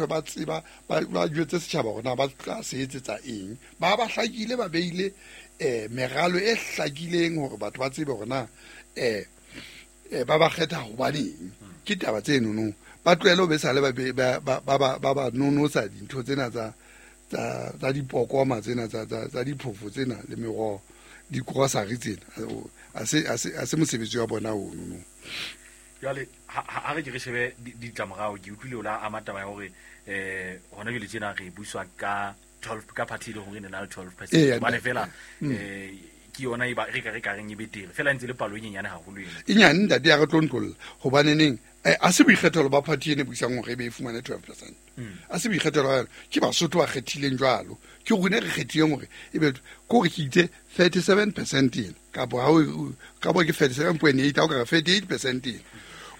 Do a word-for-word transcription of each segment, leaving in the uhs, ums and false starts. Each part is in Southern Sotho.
Ba tseba ba ba jwetse setjhaba hore na ba tla se etsetsa eng. Ba ba hlakile, ba beile eh meralo e hlakileng hore batho ba tsebe hore na eh eh ba ba kgetha hobaneng. Ke taba tse nono. Ba tlohele ho be sale ba ba ba ba ba ba nonosa dintho tsena tsa tsa tsa dipokoma tsena tsa tsa tsa diphofo tsena le meroho, di-grocery tsena. A se a se a se mosebetsi wa bona ono no. Jwale ha ha re ke re shebe ditlamorao, ke utlwile o la ama taba ya hore eh hona jwale tjena re buiswa ka twelve ka party le hore e na le twelve percent. Hobane fela eh ke yona e ba re ka re ka reng e betere fela ntse le palo e nyenyane haholo ena. E nyane ntate ya re tlontlolla hobane neng a se boikgethelo ba party ene buisang hore e be e fumane twelve percent. A se boikgethelo ba yona, ke Basotho ba kgethileng jwalo. Ke rona re kgethileng hore ebe ko re ke itse thirty-seven percent ena kapa ha o ka bo ke thirty-seven point eight ha o ka re thirty-eight percent ena.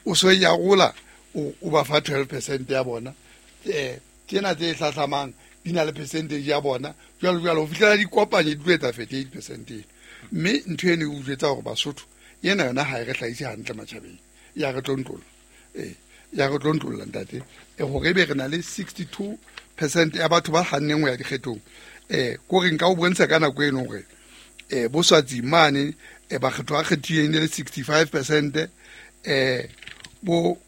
O so ya rola o ba fa twelve percent ya bona. Eh tsena tse hlahlamang di na le percentage ya bona jwalo jwalo ho fihlela di kopanye di tlo etsa thirty-eight percent ena. Mme ntho eno e utlwetsa hore Basotho yena yona ha e re hlahise hantle matjhabeng. Ya re tlontlolla. Eh ya re tlontlolla ntate. E hore ebe re na le sixty-two percent ya batho ba hanneng ho ya dikgethong. Eh ko re nka o bontsha ka nako eno hore eh boswatsi mane e ba kgetho a kgethileng le sixty-five percent eh bo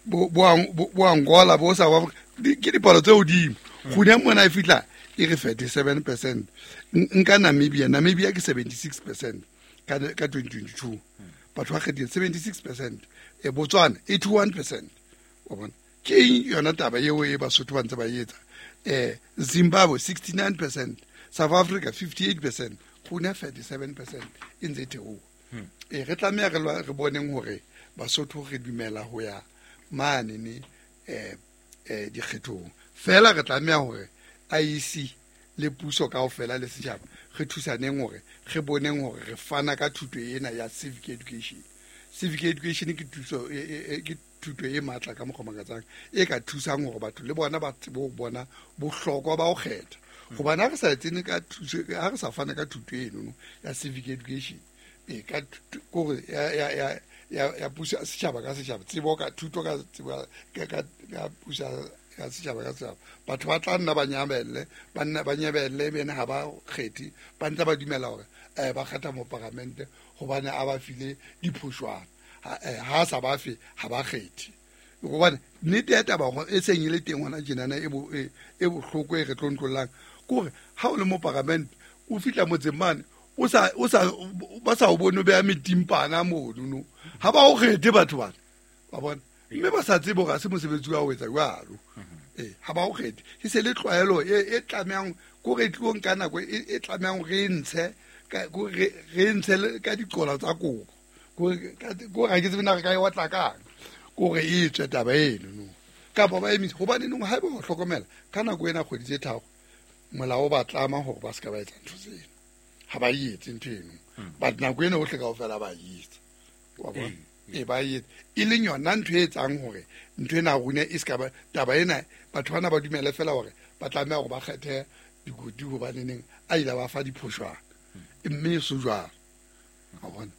bo bo Angola bo sa ba ke dipalo tse hodimo. Kgone mona e fihla e re thirty-seven percent. Nka Namibia, Namibia ke seventy-six percent ka ka twenty twenty-two. Batho ba kgethile seventy-six percent. E Botswana eighty-one percent. Wa bona? Ke yona taba eo e Basotho ba ntse ba etsa. Eh Zimbabwe sixty-nine percent, South Africa fifty-eight percent, kgone thirty-seven percent e ntse theoha. E re tlameha re re boneng hore Basotho re dumela ho ya mane ne eh eh dikgethong. Fela re tlameha hore I E C le puso kaofela le setjhaba re thusaneng hore re boneng hore re fana ka thuto ena ya civic education. Civic education ke thuso ke thuto e matla ka mokgwa makatsang e ka thusang hore batho le bona ba tsebe ho bona bohlokwa ba ho kgetha. Hobane ha re sa tsene ka thuso, ha re sa fana ka thuto eno ya civic education e ka kore ya ya ya ya ya puso setjhaba ka setjhaba, tsebo ka thuto ka tsebo ka ka ka puso ya setjhaba ka setjhaba, batho ba tla nna ba nyamelle, ba nna ba nyebelle bene ha ba kgethi, ba ntse ba dumela hore eh ba kgetha moparamente hobane a ba file diphoshwana. Ha sa ba fe ha ba kgethi. Hobane nnete ya taba e seng e le teng hona tjenana e bo e bohloko e re tlontlollang kore ha o le moparamente o fihla motseng mane o sa o sa ba sa o bone o beha metimpana mono no ha ba o kgethe batho bana ba bona mme ba sa tsebe hore ha se mosebetsi wa ho etsa jwalo. Eh ha ba o kgethe e se le tlwaelo e e tlamehang kore e tlong ka nako e tlamehang re ntshe ka re re ntshe ka diqola tsa kobo kore kore ha ke tsebe na re ka e otla kang kore e tswe taba eno no kapa ba emise hobane nong ha eba o hlokomela ka nako ena kgwedi tse tharo molao ba tlama hore ba se ka ba etsa ntho tseno. Ha ba etse ntho eno but nako ena ohle kaofela ba etsa wa bona e ba etsa e leng yona ntho e etsang hore ntho ena rona e se ka ba taba ena batho bana ba dumele fela hore ba tlameha hore ba kgethe dikoti hobane neng a ile ba fa diphoshwana mme e so jwalo wa bona.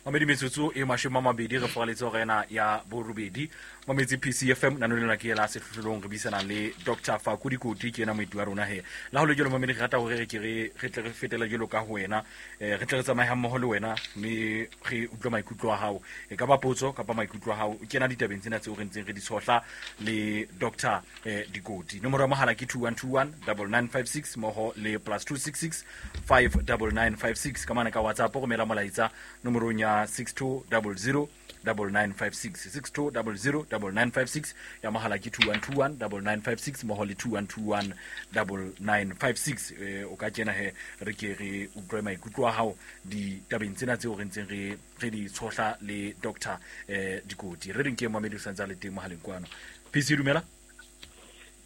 Mamedi metsotso e mashome a mabedi re foraletse hore ena ya borobedi Mametsi P C F M nano lena ke la sehlohlolong re buisana le Doctor Faku Dikoti ke yena moeti wa rona he la ho le jwalo mamedi re rata hore re ke re re tle re fetele jwalo ka ho wena eh re tle re tsamaye hammoho le wena mme re utlwe maikutlo a hao e ka ba potso kapa maikutlo a hao kena ditabeng tsena tseo re ntseng re di tshohla le Doctor eh Dikoti. Nomoro ya mohala ke two one two one nine nine five six mmoho le plus two six six five nine nine five six ka mane ka WhatsApp romela molaetsa nomorong ya six two zero zero nine nine five six six two zero zero nine nine five six ya mohala ke two one two one nine nine five six mmoho le two one two one nine nine five six. Eh o ka kena he re ke re utlwe maikutlo a hao ditabeng tsena tseo re ntseng re re di tshohla le Doctor eh Dikoti. Re reng ke Mohamedi o santse a le teng mohaleng kwano. P C dumela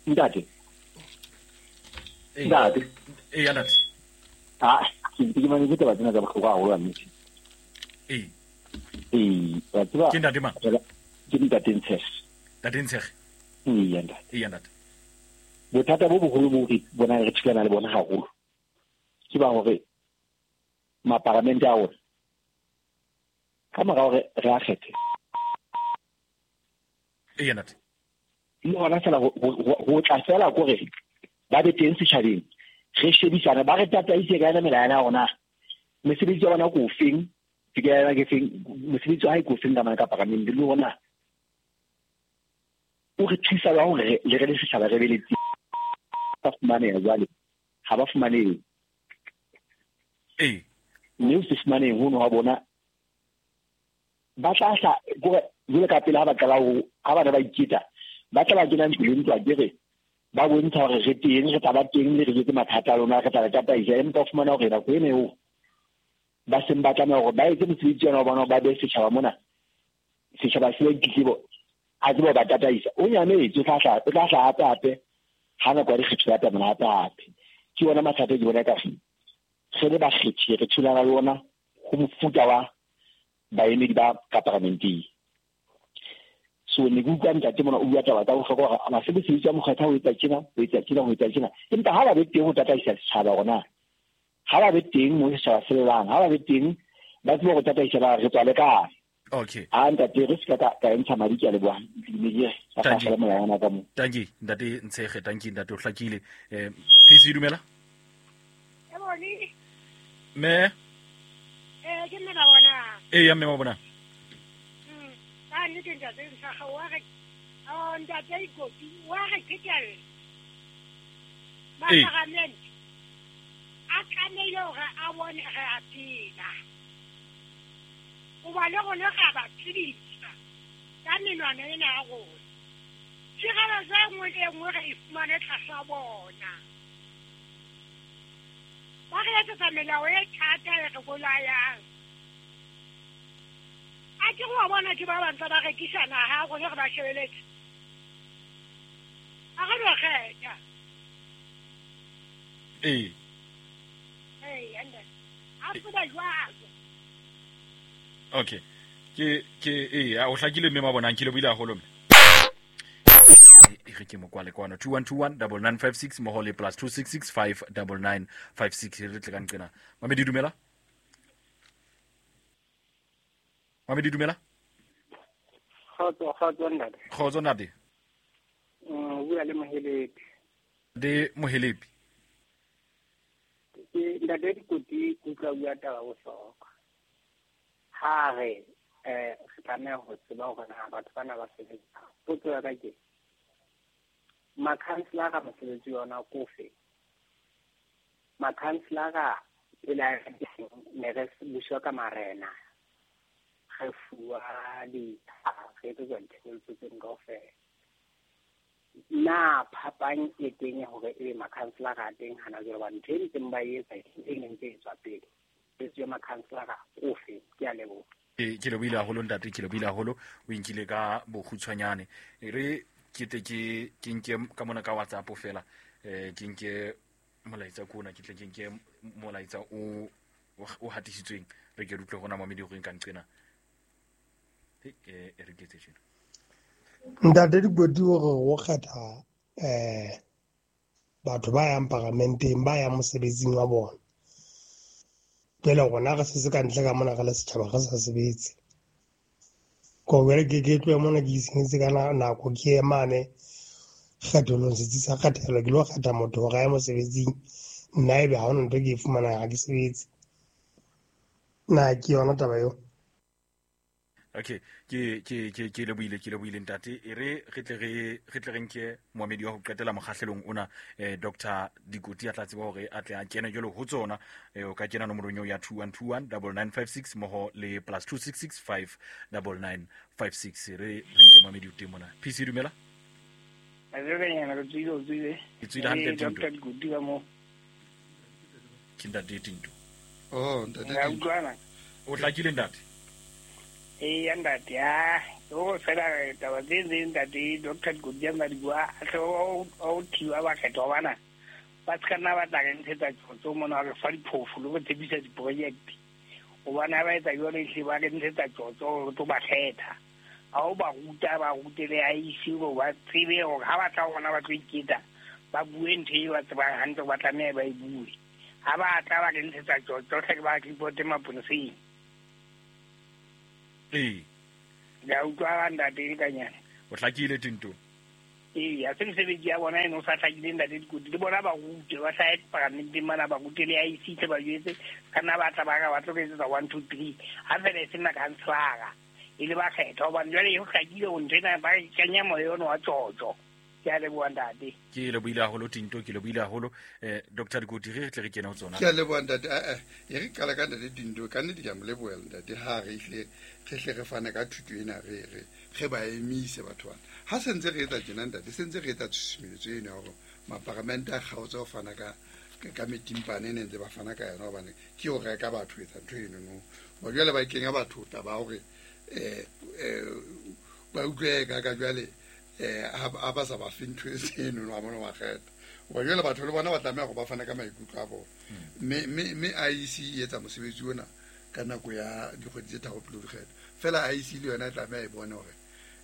ntate. Ntate eh ya ntate ah ke ke mane ke taba tsena tsa bohlokwa haholo nnete. Eh eh wa tseba ke ntate mang? Ke ntate Ntshege. Ntate Ntshege. Ee ntate. Ee ntate. Bothata bo boholo bo re bona re thulana le bona haholo ke ba hore maparamente a rona ka mora hore re a kgethe. Ee ntate. Le hona fela ho tla fela kore ba be teng setjhabeng re shebisane ba re tataise ka yona melawana ya rona mesebetsi ya bona ko feng ke ya ke feng mosebetsi wa hae ko feng ka mane ka paramenteng le rona o re thusa ba hore le re le setjhaba re be le ba fumaneha jwale ha ba fumanehe ee mme o se fumaneng hono ha bona ba tla hla kore jwale ka pele ha ba qala ho ha bana ba iketa ba tla ba kena ntlo le ntlo akere ba bontsha hore re teng re tla ba teng le re jetse mathata a lona re tla ba tataisa empa o fumana hore nako ena eo ba seng ba tlameha hore ba etse mosebetsi ona wa bona ba behe setjhaba mona setjhaba se ba ditletlebo a tsebe ho ba tataisa o nyametse o tla hla o tla hla hape hape ha nako ya dikgetho ya atamela hape hape ke ona mathata ke bona ka re le bakgethi re thulana le ona ho mofuta wa baemedi ba ka paramenteng. So ne ke utlwa ntate mona o bua taba tsa bohlokwa hore basebetsi wa mokgatlo ho etsa tjena ho etsa tjena ho etsa tjena empa ha ba be teng ho tataisa setjhaba hore na ha ba be teng mo setjhaba se lelang ha ba be teng ba tsebe ho tataisa ba re tswa le kae. Okay a ntate re se ka ka ntsha madi ke a leboha Tanki melawana ka mo tanki ntate Ntshege tanki ntate o hlakile eh P C dumela e bone me eh ke mme ba bona e ya mme ba bona mm ka nnete ntate Ntshege wa re oh ntate Ikoti wa re phetela ba parliament a tlamehile hore a bone re a phela o ba le rona ga ba phedisa ka menwana ena ya rona tshireletso e nngwe le e nngwe re e fumane tlasa bona ba re etsetsa melao e thata e re bolayang a ke wa bona ke ba bantse ba rekisa naha rona re ba shebeletse a re no kgetha ee ee ande a tseba jwalo. Okay ke ke eh o hlakile mme ma bonang ke le buile haholo mme e re ke mo kwale kwana two one two one nine nine five six moho le plus two six six five nine nine five six re tle ka nqena Mamedi dumela Mamedi dumela Kgotso kgotso ntate Kgotso ntate mm bua le Mohelepi de Mohelepi ke ntate Dikoti utlwa bua taba bohlokwa ha re eh re tlameha ho tseba hore na batho bana ba sebetsa potso ya ka ke makhanselara mosebetsi yona ko fe makhanselara pele a ne re buswa ka marena re fuwa ditsha re etsetswa ditshebeletso tseno kaofela na phapang e teng ya hore ebe makhanselara a teng hana jwale hobane ntho e ntseng ba e etsa e neng ntse e tswa pele mosebetsi wa makhanselara ofe. Ke a leboha. Ke ke lebohile haholo ntate, ke lebohile haholo, o inkile ka bokgutshwanyane. E re ke tle ke ke nke ka mona ka WhatsApp fela, eh ke nke molaetsa kona, ke tle ke nke molaetsa o o hatisitsweng, re ke re utlwe hona mamedi hore nka nqena. E re ke tse tjena. Ntate Dikoti o re o kgetha eh batho ba yang paramenteng, ba yang mosebetsing wa bona. Jwale rona re setse ka ntle ka mona re le setjhaba re sa sebetse. Ko jwale ke ke tlohe mona ke itshenyetse ka nako ke ye mane kgetholong, setsi sa kgethelo, ke lo kgetha motho hore a ye mosebetsing, nna ebe ha hona ntho e ke e fumanang, ha ke sebetse. Na ke yona taba eo? Okay, ke ke ke ke lebohile, ke lebohile ntate. E re re tle re re tle re nke moamedi wa ho qetela mokgahlelong ona, eh Doctor Dikoti a tla tseba hore a tle a kene jwalo ho tsona. Eh o ka kena nomorong eo ya two one two one nine nine five six mmoho le plus two six six five nine nine five six. Re re nke moamedi o teng mona. P C dumela. Re re tswile, o tswile. Ke tswile hantle Tinto. Doctor Dikoti ka mo. Ke ntate Tinto. Oh, ntate Tinto. O hlakile ntate. E ya ntate, ya o fela taba tse tse ntate Doctor Dikoti a bua, a tle o thiwa bakgethwa bana ba se ka nna ba tla re ntshetsa tjotjo mona re fa diphofu le go tshepisa di-project, hobane ha ba etsa jwalo ehlile ba re ntshetsa tjotjo re tlo ba kgetha. Ha o ba ruta, ba rute le I E C hore ba tsebe hore ha ba tla ho rona ba tlo iketsa, ba bue ntho e ba tsebang hantle ba tlameha ba e bue. Ha ba tla ba re ntshetsa tjotjo hle ke ba ripote maponeseng. Ee. Ke a utlwa ntate Lekanyane. O hlakile Tinto. Ee, a se mesebetsi ya bona eno sa hlakileng ntate Dikoti le bona ba rute ba hlahe paramenteng mana ba rute le I C tle ba jwetse ka nna ba tla ba ka ba tlo etsetsa one two three ha fela e se nna councillor e le ba kgetha hobane jwale ho hlakile ho ntho ena ba kenya moya ono wa tjotjo. Ke a leboha ntate. Ke lebohile haholo Tinto, ke lebohile haholo eh Doctor Dikoti re tle re kene ho tsona. Ke a leboha ntate. Eh eh e re qala ka ntate Tinto ka nnete ke a mo lebohela ntate ha re hle re hle re fane ka thuto ena re re re ba emise batho bana. Ha se ntse re etsa tjena ntate se ntse re etsa tshusumetso ena ya hore maparamente a kgaotse ho fana ka ka metimpane e ne ntse ba fana ka yona hobane ke ho reka batho etsa ntho eno no. Ba jwale ba kenya batho taba hore eh eh ba utlwe ka ka jwale eh ha ba sa ba fe ntho eno no ba bona ba kgetha. Ba jwale batho le bona ba tlameha go ba fana ka maikutlo a bona. Mme mme mme I E C e etsa mosebetsi ona ka nako ya dikgwedi tse tharo pele ho dikgetho. Fela I E C le yona e tlameha e bone hore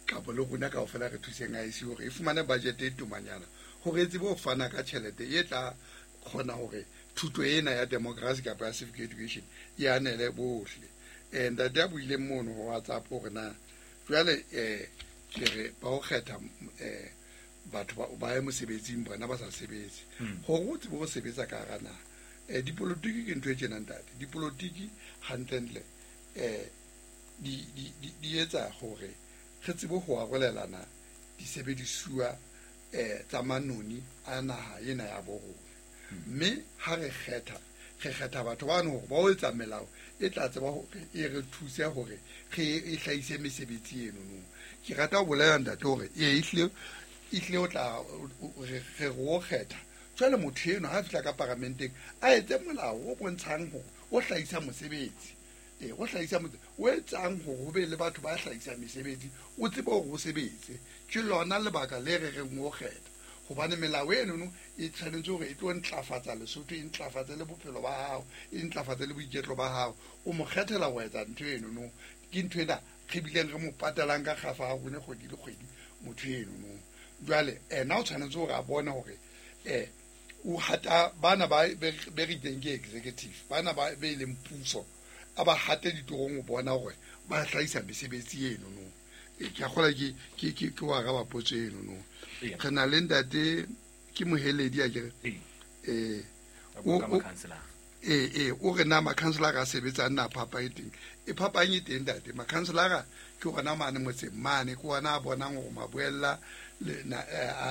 kapo le rona kaofela re thuseng I E C hore e fumane budget e tumanyana hore e tsebe ho fana ka tjhelete e tla kgona hore thuto ena ya democracy kapa ya civic education e anele bohle. Eh ntate a buileng mono ho WhatsApp hore na jwale eh ke re ba ho kgetha eh batho ba ba ye mosebetsing bona ba sa sebetse. Hore o tsebe ho sebetsa ka hara naha. Eh dipolotiki ke ntho e tjena ntate. Dipolotiki hantlentle eh di di di etsa hore re tsebe ho arolelana disebedisuwa eh tsa manoni a naha ena ya bo rona. Mme ha re kgetha re kgetha batho ba no ba o etsa melao e tla tseba hore e re thuse hore re e hlahise mesebetsi eno no. Ke rata ho bolela ntate hore e ehle ehle o tla re re o kgetha jwale motho eno ha fihla ka paramenteng a etse molao o bontshang hore o hlahisa mosebetsi. E o hlahisa motse o etsang hore ho be le batho ba hlahisa mesebetsi o tsebe hore o sebetse. Ke lona lebaka le re reng o kgetha hobane melao eno no e tshwanetse hore e tlo ntlafatsa Lesotho, e ntlafatse le bophelo ba hao, e ntlafatse le boiketlo ba hao. O mo kgethela ho etsa ntho eno no. Ke ntho ena re bileng re mo patalang ka kgafa ha rona kgwedi le kgwedi motho eno no. Jwale ena o tshwanetse hore a bone hore eh o hata bana ba be re itseng ke executive bana ba be leng puso a ba hate ditorong ho bona hore ba hlahisa mesebetsi eno no. E ke a kgola ke ke ke ke wa araba potso eno no. Re na le ntate ke Moheledi a kere eh o eh eh o re na makhanselara a sebetsang na phapang e teng. E phapang e teng ntate. Makhanselara ke hona mane motseng mane ke ona a bonang hore maboella le na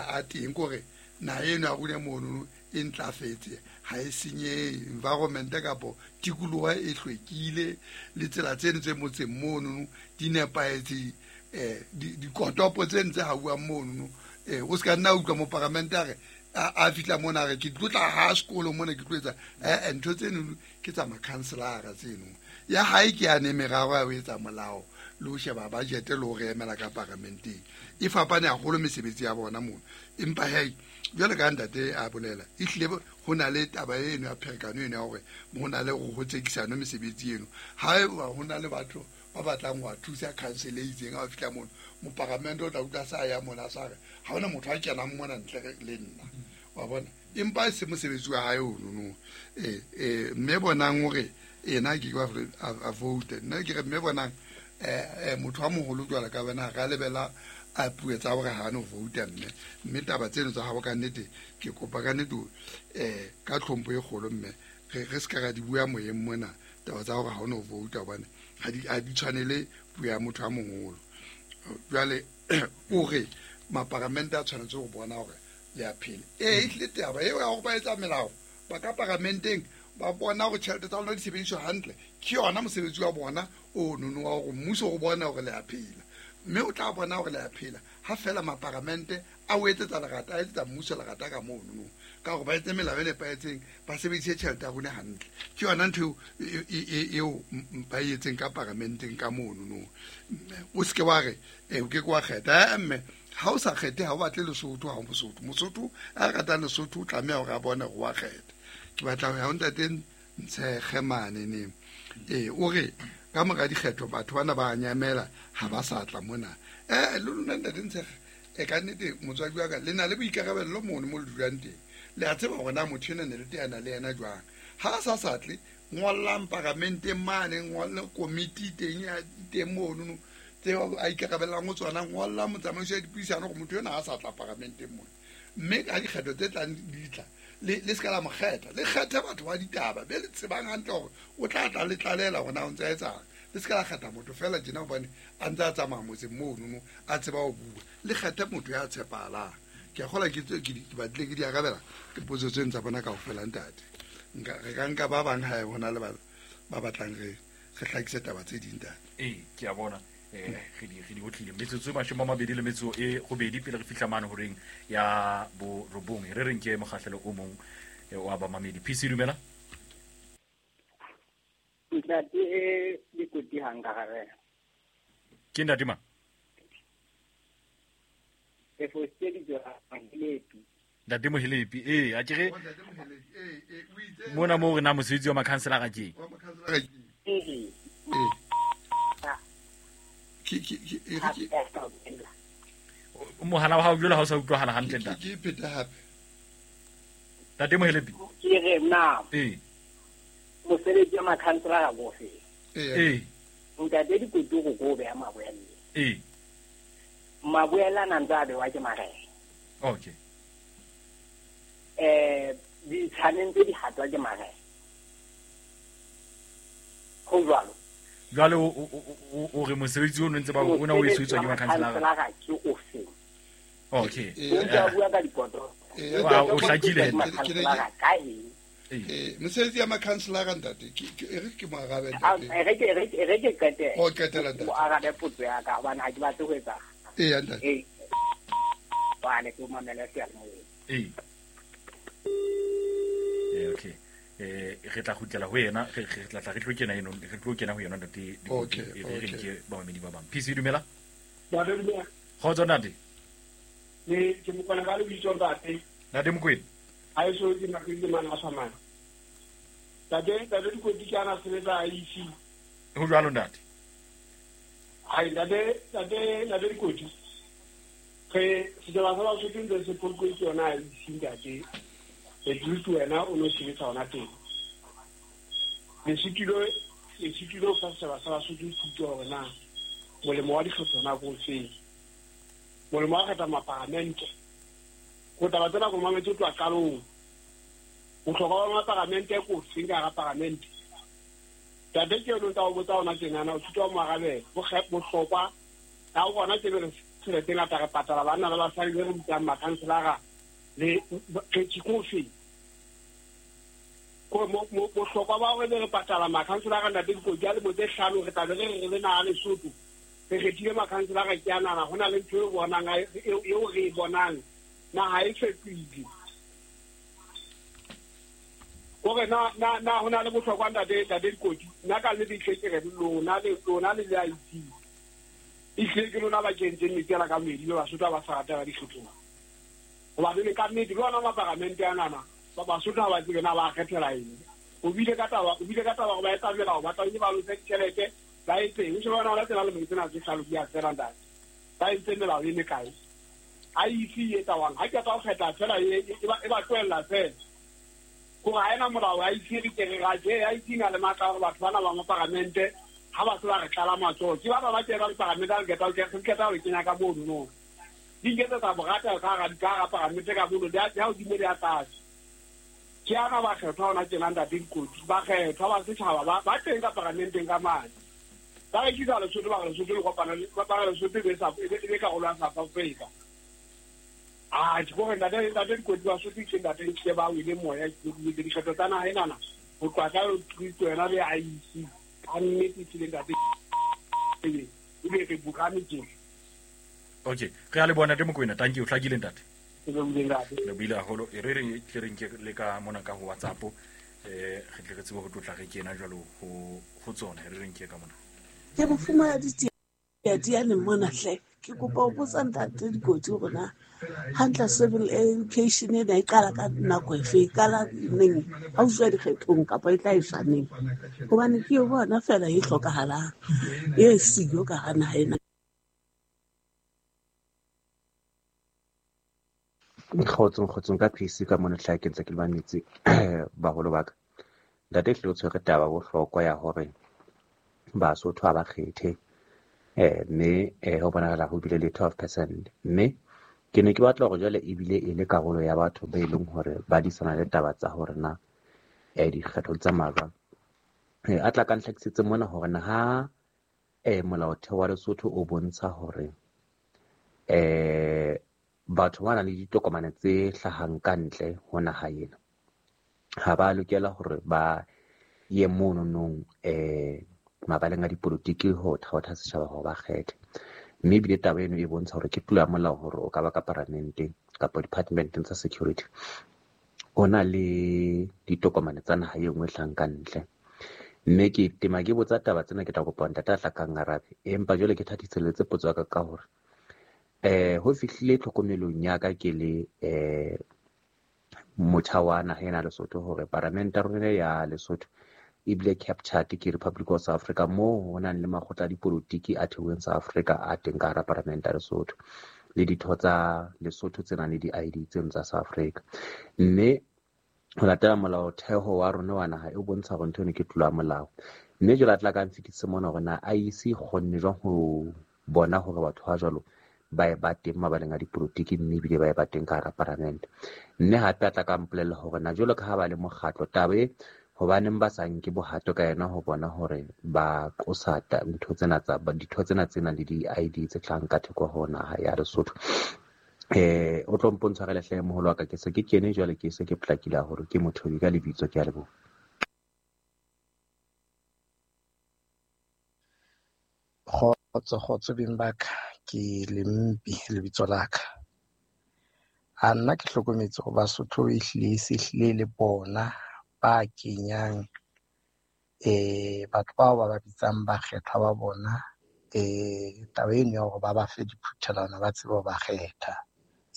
a teng kore na eno a rune mono e ntlafetse ha e senye environment kapo tikoloho e hlwekile le tsela tseno tse motseng mono di nepahetse eh dikotopo tse ntse ha bua mono eh o ska nna utlwa mo parliament a re a fitla mona re ke tlotla ha sekolo mona ke tlo etsa eh ntho tseno ke tsa makhanselara tseno ya hae ke ane meraro ya ho etsa molao le ho sheba budget le ho re emela ka paramenteng e fapane haholo mesebetsi ya bona mono. Empa hei jwale ka ntate a bolela e hlile ho na le taba eno ya pherekano eno ya hore ho na le ho tsekisano mesebetsi eno ha ho na le batho ba batlang ho thusa council e itseng ha fihla mono moparamente o tla utlwa sa ya mona sa re ha hona motho a kenang mona ntle le nna wa bona empa e se mosebetsi wa hae ono no eh eh mme bonang hore ena ke kwa a vote nna ke re mme bonang eh motho wa moholo jwala ka bana ga lebela a puo tsa hore ha no vote mme mme taba tseno tsa hao ka nnete ke kopa ka nnete eh ka tlhompho e kgolo mme re re ska ra di bua moyeng mona taba tsa hore ha no vote hobane ha di a di tshwanele puo ya motho a moholo. Jwale o re maparamente a tshwanetse go bona hore le a phela e ehlile taba eo ya hore ba etsa melao ba ka paramenteng ba bona hore tjhelete tsa lona di sebediswa hantle ke yona mosebetsi wa bona o nono wa hore mmuso o bona hore le a phela mme o tla bona hore le a phela ha fela maparamente a o etsetsa lerata a etsetsa mmuso lerata ka mono no ka hore ba etse melao e nepahetseng ba sebedise tjhelete ya rona hantle ke yona ntho eo ba e etseng ka paramenteng ka mono no. O seke wa re o ke ke wa kgetha mme ha o sa kgethe ha o batle Lesotho ha o Mosotho Mosotho a ratang Lesotho o tlameha hore a bone hore wa kgetha. Ke batla ho ya ho ntate Ntshekge mane ne eh o re ka mora dikgetho batho bana ba nyamela ha ba sa tla mona eh le lona ntate Ntshekge e ka nnete motswadi wa ka le na le boikarabello mono mo le dulang teng le a tseba hore na motho ena ne le teana le yena jwang ha a sa sa tle ngollang paramenteng mane ngolle komiti teng ya teng mono Tseo a ikarabellang ho tsona, ngolla motsamaiso ya dipuisano gore motho yona ha sa tla paramenteng mona. Mme ka dikgetho tse tlang di tla, le le ska la mo kgetha, le kgethe batho ba ditaba be le tsebang hantle hore o tla tla le tlalela hore na o ntse a etsang. Le ska la kgetha motho fela tjena hobane a ntse a tsamaya motseng mono, a tseba ho bua. Le kgethe motho ya tshepahalang. Ke a kgolwa ke ke di batlile ke di arabela ke potso tseno tsa bona kaofela ntate. Nka re ka nka ba bang hae hona le ba ba batlang re re hlakise taba tse ding ntate. Ee, ke a bona. Eh re di re di otlile metsotso e mashome a mabedi le metso e robedi pele re fihla mane horeng ya bo robong. Re reng ke mokgahlelo o mong wa bamamedi. P C dumela. Ntate Dikoti ha nka gare. Ke ntate mang? E fositse ditso Mohelepi. Ntate Mohelepi, ee, a ke re mona moo re na mosebetsi wa makhanselara ke. Ee. Ke ke ke e re ke mohala wa hao jwale ha o sa utlwahala hantle ntate. Ke pheta hape. Ntate Mohelepi. Ke re na. Ee. Mosebetsi wa makhanselara go fe. Ee. Ntate Dikoti go go beha maboela. Ee. Maboela na ntse a bewa ke marena. Okay. Eh ditshaneng tse di hatwa ke marena. Ho jwalo. Jwale o o re mosebetsi o ntse ba o na o etswa ke makhanselara ke o feng? Okay. O ntse a bua ka dikoto. Wa o hlakile. Makhanselara ka eng? Eh mosebetsi ya makhanselara ntate ke e re ke mo arabe ntate. E re ke e re ke qetela. O qetela ntate. O arabe potso ya ka hobane ha ke batle ho etsa. Ee ntate. Ee. Bane ke mamela seyalemoyeng. Ee. Eh okay. Eh re tla kgutlela ho yena, re re tla tla re tlo kena eno, re tlo kena ho yena ntate. Okay. Re re ke bamamedi ba bang. P C dumela. Ntate dumela. Kgotso ntate. Ne ke mokwana ka lebitso ntate. Ntate Mokwena. Ha e so ke nakile mana a samana. Ntate, ntate Dikoti ke ana sebetsa I C. Ho jwalo ntate. Hai ntate, ntate, ntate Dikoti. Re setjhaba sa Basotho ntse se polokwe ke yona I C ntate. E dutse wena o no sebetsa hona teng. Le sitilo, le sitilo fa setjhaba sa Basotho thuto hore na molemo wa dikgetho na ko feng. Molemo wa kgetha mapalamente. Go taba tsena go mametse tloha qalong. Bohlokwa ba mapalamente ko feng ka hara palamente. Tate ke yona o botsa hona tjenana o thuto wa mo arabela. Bohlokwa ha o bona ke re tjhelete e ngata re patala banna le basadi be re bitsang makhanselara le ke ko feng. Ko mo bohlokwa ba hore re patala makhanselara ntate Dikoti a lemo tse hlano re tla be re re le naha Lesotho. Re kgethile makhanselara ke a nana ho na le ntho eo bonang eo re e bonang naha e fetohile. Kore na na na ho na le bohlokwa ntate ntate Dikoti nna ka nnete ehlile ke re lona le lona le le I C. Ehlile ke lona ba kentseng metsi ana ka moedi be Basotho ha ba sa rata ba dikgethong. Hobane le ka nnete le ona mapalamente anana ba Basotho ha ba tsebe na ba kgethela eng. O bile ka taba o bile ka taba hore ba etsa melao ba tlamehile ba lose ditjhelete ba etseng. O shebe bona hona tsena lemo tsena tse hlano di a fela ntate. Ba entse melao e mekae. I C e etsa wang ha ke tla ho kgetha fela e e ba tlohella fela. Kore ha ena molao I C re ke re raje I C na le matla hore batho bana ba mapalamente ha ba se ba re tlala matsoho. Ke ba ba ba ke ba mapalamente a re keta ke keta ho kenya ka mono no. Di nketsetsa borata ka hara ka hara palamente ka mono di a hodimo di a tlase. Ke ana ba kgethwa hona tjena ntate Dikoti ba kgethwa ba setjhaba ba ba teng ka palamenteng ka mane. Ba rekisa Lesotho ba re Lesotho le kopana le ba re Lesotho e be sa e be karolo ya South Africa. Ah ke gore ntate ntate Dikoti ba Sotho ke ntate ke ba wile moya ke dikgetho tsa naha enana ho tloha ka Kristo yena le I C a nnete tsile ntate e be re bukane tje. Okay, re a le bona Ntate Mokwena, thank you, hlakile ntate. Le buile haholo e re re tle re nke le ka mona ka ho WhatsApp eh re tle re tsebe ho tlotla re kena jwalo ho ho tsona re re nke ka mona. Ke mofuma ditiyane mona hle ke kopa ho botsa ntate Dikoti hore na hantle civil education ena e qala ka nako efe, e qala neng ha o tswa dikgethong kapa e tla e neng, hobane ke bona fela e hlokahalang e siyo ka hara naha ena. Kgotsong kgotsong ka P C ka mona tlhae ke ntse ke le mametse baholo ba ka. Ntate hle o tshwere taba bohlokwa ya hore Basotho ha ba kgethe Eh mme eh ho bonahala ho bile le twelve percent. Mme ke ne ke batla hore jwale ebile e le karolo ya batho ba e leng hore ba disana le taba tsa hore na eh dikgetho di tsamaya jwang. Eh a tla ka ntlhakisetse mona hore na ha eh molaotheo wa Lesotho o bontsha hore eh batho ba nang le ditokomane tse hlahang ka ntle ho naha ena ha ba lokela hore ba ye mono nong eh mabaleng a dipolotiki ho thaotha setjhaba hore ba kgethe. Mme ebile taba eno e bontsha hore ke tlolo ya molao hore o ka ba ka paramenteng kapa departmenteng tsa security o na le ditokomane tsa naha e nngwe e hlahang ka ntle. Mme ke tema ke botsa taba tsena ke tla kopa ntate a tla kang arabe, empa jwale ke thathiseletse potso ya ka ka hore eh ho fihlile tlhokomelong ya ka ke le eh motjha wa naha ena Lesotho hore paramente ya rona ya Lesotho ebile captured ke Republic of South Africa moo ho nang le makgotla a dipolotiki a thehilweng South Africa a teng ka hara paramente ya Lesotho le ditho tsa Lesotho tse nang le di-I D tseno tsa South Africa. Mme ho latela molaotheo wa rona wa naha e bontsha hore ntho eno ke tlolo ya molao. Mme jwale a tla ka nfetise mona hore na I E C e kgonne jwang ho bona hore batho ba jwalo ba e ba teng mabaleng a dipolotiki mme ebile ba e ba teng ka hara paramente. Mme hape a tla ka mpolella hore na jwalo ka ha ba le mokgatlo taba e hobaneng ba sa nke bohato ka yena ho bona hore ba qosa ntho tsena tsa ditho tsena tse nang le di-I D tse hlahang ka theko ho naha ya Lesotho. Eh o tlo mpontsha re lehle moholo wa ka ke se ke kene jwale ke se ke potlakile haholo ke motho ka lebitso ke a leboha. Kgotso kgotso beng ba ka, ke Lempi lebitso la ka. A nna ke hlokometse hore Basotho ehlile e se hlile le bona ba kenyang eh batho bao ba ba bitsang bakgethwa ba bona eh taba eno ya hore ba ba fe diphuthelwana ba tsebe ho ba kgetha.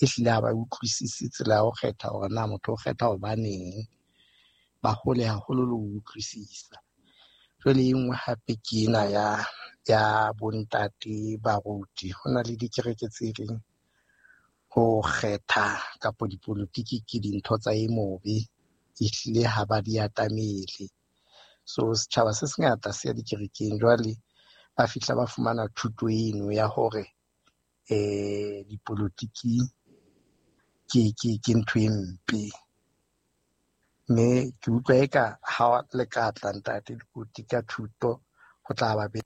Ehlile ha ba utlwisise tsela ya ho kgetha hore na motho o kgetha hobaneng, ba hole haholo le ho utlwisisa. Jwale e nngwe hape ke ena ya ya bontate baruti. Ho na le dikereke tse reng ho kgetha kapa dipolotiki ke dintho tsa e mobe, ehlile ha ba di atamele. So setjhaba se sengata se ya dikerekeng jwale ba fihla ba fumana thuto eno ya hore eh dipolotiki ke ke ke ntho e mpe. Mme ke utlwa eka ha le ka tla ntate Dikoti ka thuto ho tla ba be.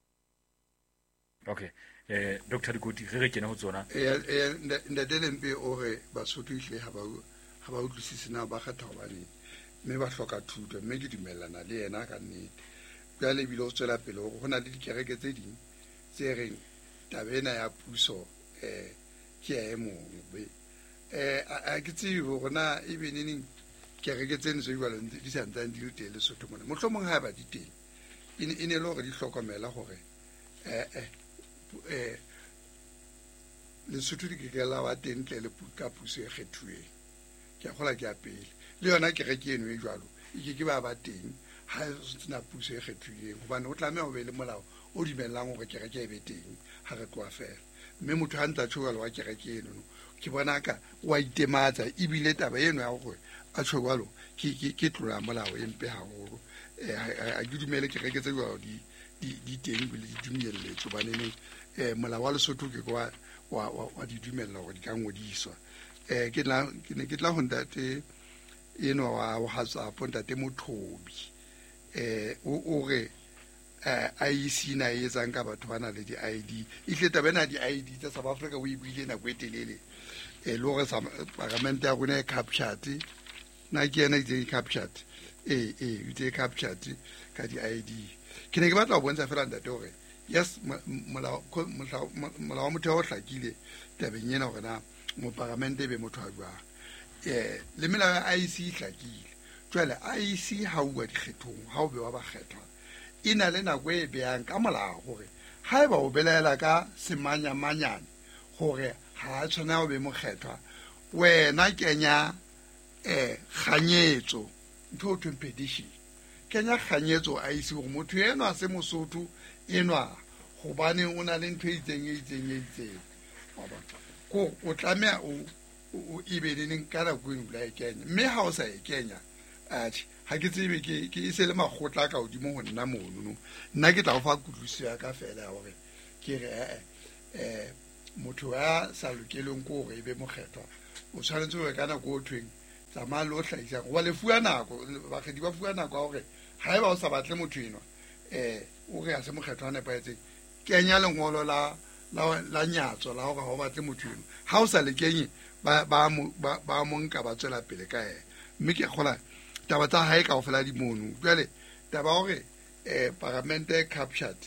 Okay eh Doctor Dikoti re re kene ho tsona. Eh eh ntate Lempe o re Basotho ehlile ha ba ha ba utlwisise na ba kgetha hobaneng mme ba hloka thuto, mme ke dumellana le yena ka nnete. Jwale ebile o tswela pele hore ho na le dikereke tse ding tse reng taba ena ya puso eh ke ya e mong. Eh a ke tsebe hore na ebe neneng kereke tseno tse jwalo di sa ntsane di le teng Lesotho mona. Mohlomong ha ba di teng e ne e ne le hore di hlokomela hore eh eh eh Lesotho di ke ke la ba teng ntle le ka puso e kgethuweng. Ke a kgolwa ke ya pele. Le yona kereke eno e jwalo e ke ke ba ba teng ha sena puso e kgethilweng, hobane o tlameha ho be le molao o dumellang hore kereke e be teng ha re tloha fela. Mme motho ha ntse a tjho jwalo wa kereke eno ke bona ka wa itematsa, ebile taba eno ya hore a tjho jwalo ke ke ke tlolo ya molao e mpe haholo. Eh ha ke dumele kereke tse jwalo di di di teng ebile di dumelletswe, hobane eh molao wa Lesotho ke wa wa wa di dumella hore di ka ngodiswa. Eh ke tla ke ne ke tla ho ntate eno wa WhatsApp ntate Mothobi eh o o re eh I E C na e etsang ka batho ba na le di-I D. Ehlile taba ena di-I D tsa South Africa o e buile nako e telele eh le hore paramente ya rona e captured na ke yena e captured eh eh e captured ka di-I D. Ke ne ke batla ho bontsha fela ntate hore yes molao molao wa motheo o hlakile tabeng ena hore na moparamente e be motho a jwang. Eh le melao ya I E C e hlakile. Jwale I E C ha uwa dikgethong ha o bewa bakgethwa e na le nako e behang ka molao hore haeba o belaela ka semanyamanyane hore ha a tshwanela ho be mokgethwa, wena kenya eh kganyetso, ntho o thweng petition, kenya kganyetso I E C hore motho enwa se Mosotho enwa hobane o na le ntho e itseng e itseng e itseng. Wa bona ko o tlameha o o ebe le neng ka nako eno la e kenya, mme ha o sa e kenya atjhe ha ke tsebe ke ke e se le makgotla ka hodimo ho nna mono no. Nna ke tla o fa kutlwisiso ya ka fela ya hore Ke re eh eh motho ya sa lokeleng ke hore e be mokgethwa o tshwanetse hore ka nako o thweng tsamaya le o hlahisang hoba le fuwa nako, bakgethi ba fuwa nako ya hore haeba o sa batle motho enwa eh o re ha se mokgethwa a nepahetseng, kenya lengolo la la la nyatso la hore ha o batle motho enwa. Ha o sa le kenye ba ba ba mo nka ba tswela pele ka yena. Mme ke kgola taba tsa hae kaofela di mono. Jwale taba hore eh paramente captured,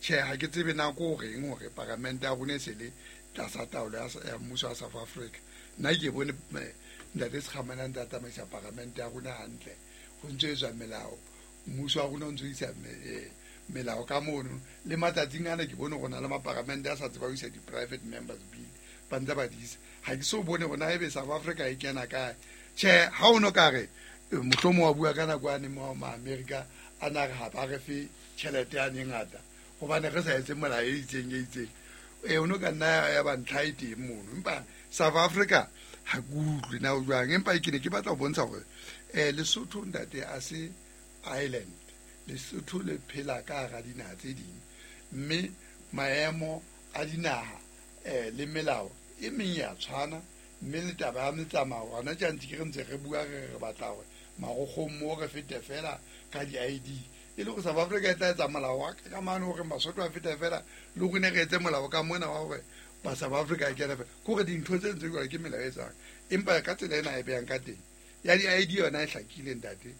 tjhe ha ke tsebe nako o reng hore paramente ya rona e se le tlasa taolo ya mmuso wa South Africa. Nna ke bone ntate Sekgamane a ntse a tsamaisa paramente ya rona hantle, ho ntso etswa melao, mmuso wa rona o ntso isa melao ka mono. Le matsatsing ana ke bone hore na le maparamente a sa tseba ho isa di-private members bill, ba ntse ba di isa. Ha ke so bone hore na ebe South Africa e kena kae. Tjhe, ha o no ka re mohlomong wa bua ka nako yane mo ma-America a na re ha ba re fe tjhelete yane e ngata hobane re sa etse molao e itseng e itseng, e o no ka nna ya ba ntlha e teng mono. Empa South Africa ha ke utlwe na o jwang, empa ke ne ke batla ho bontsha hore eh Lesotho ntate a se island, Lesotho le phela ka hara dinaha tse ding, mme maemo a dinaha eh le melao e meng ya tshwana, mme le taba ya metsamao hona tje ntse ke re ntse re bua re re batla hore marokgong mo re fete fela ka di-I D, e le hore South Africa e tla etsa molao wa ka mane hore Basotho a fete fela, le rona re etse molao ka mona wa hore ba South Africa e kene fela. Ke hore dintho tse ntse jwalo ke melao e etsang, empa ka tsela ena e behang ka teng ya di-I D yona e hlakile ntate.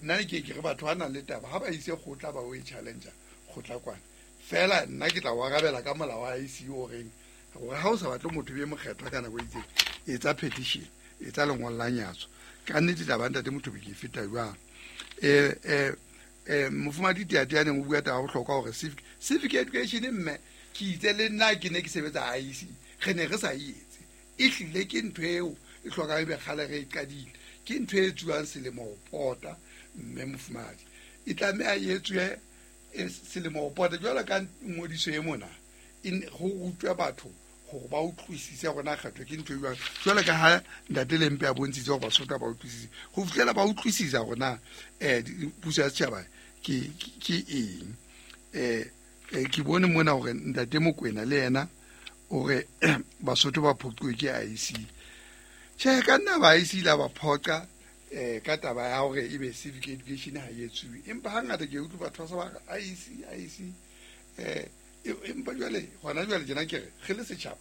Nna ke ke re batho ba nang le taba ha ba ise kgotla ba o e challenge kgotla kwana fela, nna ke tla o arabela ka molao wa I C o reng hore ha o sa batle motho be mokgethwa ka nako e itseng, etsa petition, etsa lengolo la nyatso. Ka nnete taba ntate motho be ke feta jwang. Eh eh eh mofumadi Tiate ya neng o bua taba ya bohlokwa hore civic civic education mme ke itse le nna ke ne ke sebetsa I C, re ne re sa e etse, e hlile ke ntho eo e hlokang ebe kgale re e qadile, ke ntho e etsuwang selemo ho pota. Mme mofumadi e tlameha e etsuwe selemo ho pota jwalo ka ngodiso e mona, ho rutwe batho hore ba utlwisise hore na kgetho ke ntho e jwang, jwalo ka ha ntate Lempe a bontshitse hore Basotho ba utlwisise, ho fihlela ba utlwisisa hore na eh puso ya setjhaba ke ke eng. Eh ke bone mona hore ntate Mokwena le yena hore Basotho ba phoqiwe ke I C. Tjhe, ka nna ba I C la ba phoqa eh ka taba ya hore ebe civic education ha e etsuwe, empa hangata ke utlwa batho ba sa ba re I C I C eh empa jwale hona jwale tjena ke re re le setjhaba,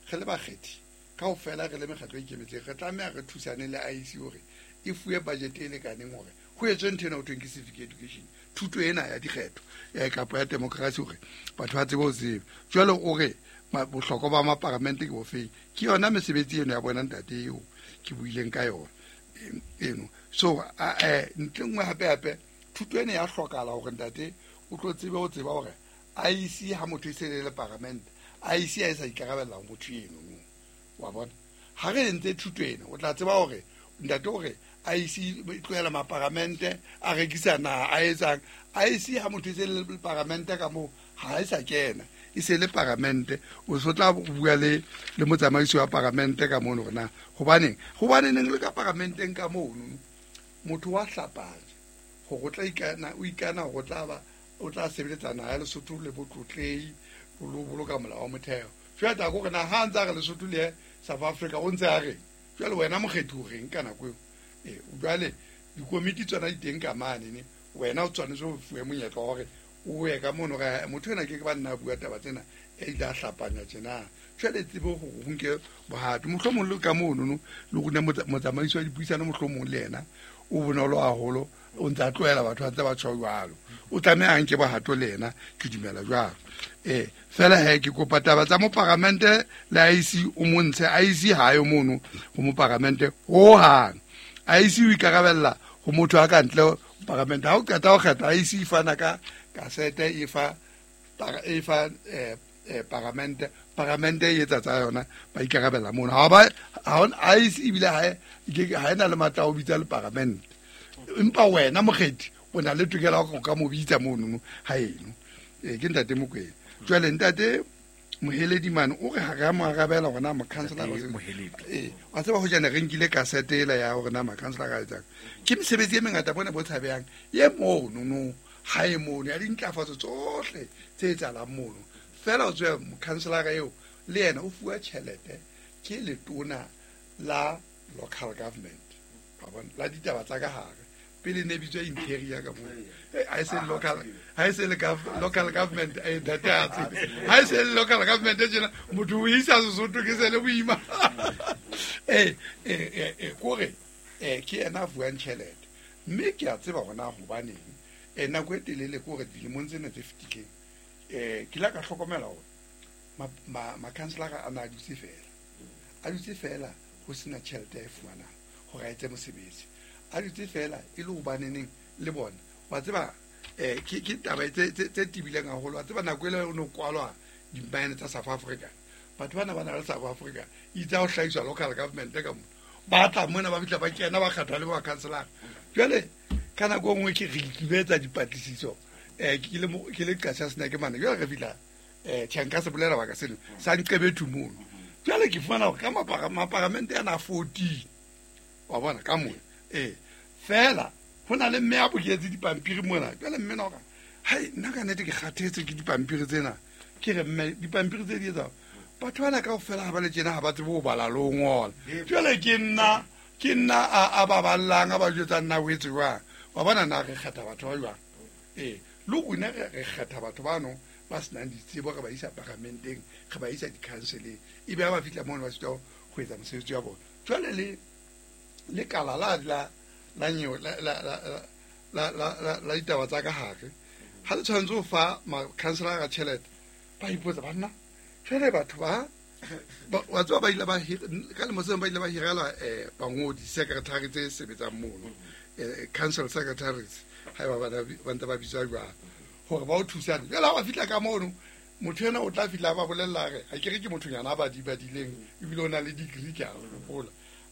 re le bakgethi kaofela, re le mekgatlo e ikemetseng, re tlameha re thusane le I C hore e fuwe budget e lekaneng hore ho etswe ntho ena ho thweng ke civic education, thuto ena ya dikgetho ya kapa ya democracy hore batho ba tsebe ho tseba. Jwale o re bohlokwa ba maparamente ke bofeng? Ke yona mesebetsi eno ya bona ntate eo ke buileng ka yona eno. So eh ntle nngwe hape hape thuto ena ya hlokahala hore ntate o tlo tsebe ho tseba hore I C ha motho e se le paramente, I C ha e sa ikarabella ho motho eno, wa bona. Ha re entse thuto ena o tla tseba hore ntate hore I C e tlohela maparamente a rekisa naha a etsang. I C ha motho e se le paramente ka moo ha e sa kena, e se le paramente, o so tla bua le le motsamaisi wa paramente ka mono hore na hobaneng hobaneng le ka paramenteng ka mono motho wa hlapanya hore o tla ikana, o ikana hore o tla ba o tla sebeletsa naha ya Lesotho le botlotlehi lo boloka molao wa motheo. Jwale taba ke hore na ha ntse a re Lesotho le South Africa o ntse a reng? Jwale wena mokgethi o reng ka nako eo? Eh jwale dikomiti tsona di teng ka mane ne, wena o tshwanetse o fuwe monyetla wa hore o ye ka mono re motho ena ke ke ba nna a bua taba tsena e ile a hlapanya tjena. Jwale tsebe hore o nke bohato mohlomong le ka mono no le rona motsamaisi wa dipuisano mohlomong le yena o bonolo haholo, o ntse a tlohela batho ba ntse ba tjho jwalo, o tlameha a nke bohato le yena, ke dumela jwalo. Eh fela he ke kopa taba tsa moparamente le I C o montshe. I C ha yo mono ho moparamente hohang. I C o ikarabella ho motho a ka ntle paramente. Ha o qeta ho kgetha I C e fana ka kasete e fa e fa eh paramente, paramente e etsa tsa yona, ba ikarabella mono. Ha ba ha I C ebile ha ha ena le matla ho bitsa le paramente, empa wena mokgethi o na le tokelo ya ho ka mo bitsa mono ha eno. Eh ke ntate Mokwena. Jwale ntate Moheledi mane o re ha re a mo arabela hore na mokhanselara eh wa tseba ho jana re nkile kasete ela ya hore na mokhanselara a etsang. Ke mesebetsi e mengata bona bo tshabehang e mono no ha e mono ya dintlafatso tsohle tse etsahalang mono. Fela o tswe mokhanselara eo le yena o fuwa tjhelete ke letona la local government. Wa bona, la ditaba tsa ka hare. Pele ne bitswa interior ka moo. Ha e se local, ha e se local government e ntate a tsebe. Ha e se local government e tjena motho o isa Sesotho ke se le boima. Eh eh eh kore eh ke yena a fuwang tjhelete. Mme ke a tseba hore na hobaneng. Eh nako e telele kore dilemong tsena tse fetileng eh ke la ka hlokomela hore ma ma councilor a na a dutse fela. A dutse fela ho sena tjhelete e fumanang hore a etse mosebetsi. A dutse fela e le hobaneneng le bona. Wa tseba eh ke ke taba tse tse tibileng haholo. Wa tseba nako ele o no kwalwa di-mine tsa South Africa. Batho bana ba na le South Africa itse ho hlahiswa local government ka mona. Ba tla mona ba fihla ba kena ba kgathwa le ba councilor. Jwale ka nako e nngwe ke re ikibetsa dipatlisiso. Eh ke le ke le qasha sena ke mane. Jwale re fihla eh tjhe nka se bolela baka seno sa nqebethu mono. Jwale ke fumana hore ka mapara maparamente ana fourteen. Wa bona ka mona. Eh fela ho na le mme a boketse dipampiri mona. Jwale mme no ka hai nna ka nnete ke kgathetse ke dipampiri tsena. Ke re mme dipampiri tse di etsa batho bana kaofela ha ba le tjena ha ba tsebe ho bala le ho ngola. Jwale ke nna ke nna a ba ballang a ba jwetsa nna o etse jwang. Wa bona na re kgetha batho ba jwang. Eh le rona re kgetha batho bano ba senang ditsebo re ba isa paramenteng, re ba isa di-councileng. Ebe ha ba fihla mono ba sitwa ho etsa mosebetsi wa bona. Jwale le le kala la la la nyewe la la la la la ditaba tsa ka hare. Ha le tshwanetse ho fa ma-councilor ka tjhelete ba ipotsa banna jwale batho ba wa tseba ba ile ba ka lemo seo ba ile ba hirela eh bangodi secretary tse sebetsang mono eh council secretaries ha ba ba ba ntse ba bitswa jwang hore ba o thusane. Jwale ha ba fihla ka mono motho ena o tla fihla ba bolella re ha ke re ke mothonyana a ba di badileng ebile o na le degree ke a hopola.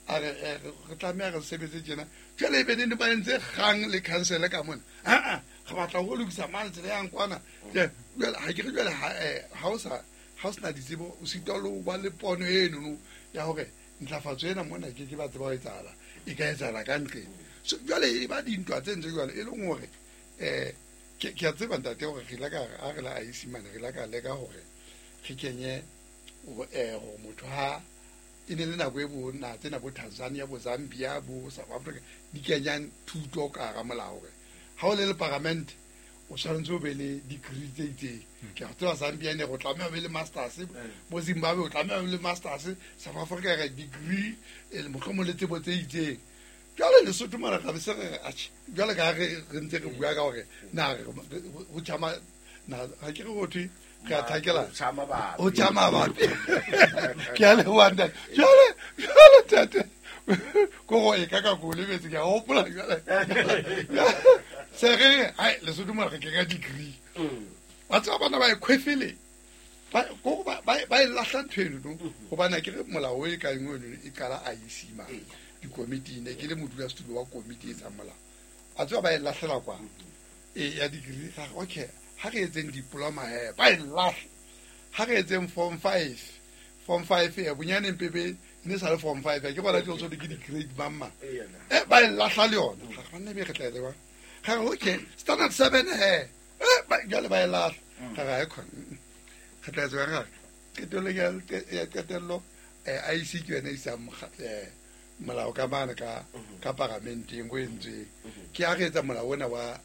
A re re tlameha re sebetse tjena. Jwale ebe ne ba entse kgang le council ka mona. A a re batla ho lokisa mane tsela yang kwana. Jwale ha ke re jwale ha o sa ha o sena ditsebo o sitwa le ho ba le pono eno no ya hore ntlafatso ena mona ke ke ba tseba ho etsahala e ka etsahala ka ntle. So jwale e ba dintwa tse ntse jwale e leng hore eh ke ke a tseba ntate hore re la ka a re la I C mane re la ka leka hore re kenye eh hore motho ha e ne le nako e bo na tsena bo Tanzania bo Zambia bo South Africa di kenyang thuto ka hara molao hore ha o le le parliament o tshwanetse o be le degree tse itseng. Ke a tseba Zambia ne go tlameha o be le masters, bo Zimbabwe o tlameha o be le masters, South Africa re degree e le mohlomong le tsebo tse itseng. Jwale Lesotho mona re se re atjhe jwale ka re re ntse re bua ka hore na ho tjama na ha ke re ho thwe re a thakela o tjama bapi. Ke a leboha ntate. Jwale jwale tate ko go e ka ka go lebetse ke a hopola jwale se re ai Lesotho mona re ke ka degree. Wa tseba bana ba e khwefele ba go ba ba e lahla ntho eno no hobane ke re molao e ka engwe eno e qala I C mane dikomiti ne ke le modulasetulo wa komiti e tsang molao. A tseba ba e lahlela kwa e ya degree ga okay ha re etseng diploma he ba e lahla. Ha re etseng form five form five e bonyane mpebe ne sa le form five ke bona di tsotso ke di grade mamma e ba e lahla le yona ga ba nne be re tla le ba ga re okay standard seven he e ba jwale ba e lahla ga ga e khona re tla tswa ga qetello ya qetello eh I C ke yona e isa eh molao ka mane ka ka paramenteng o entsweng. Ke a re etsa molao ona wa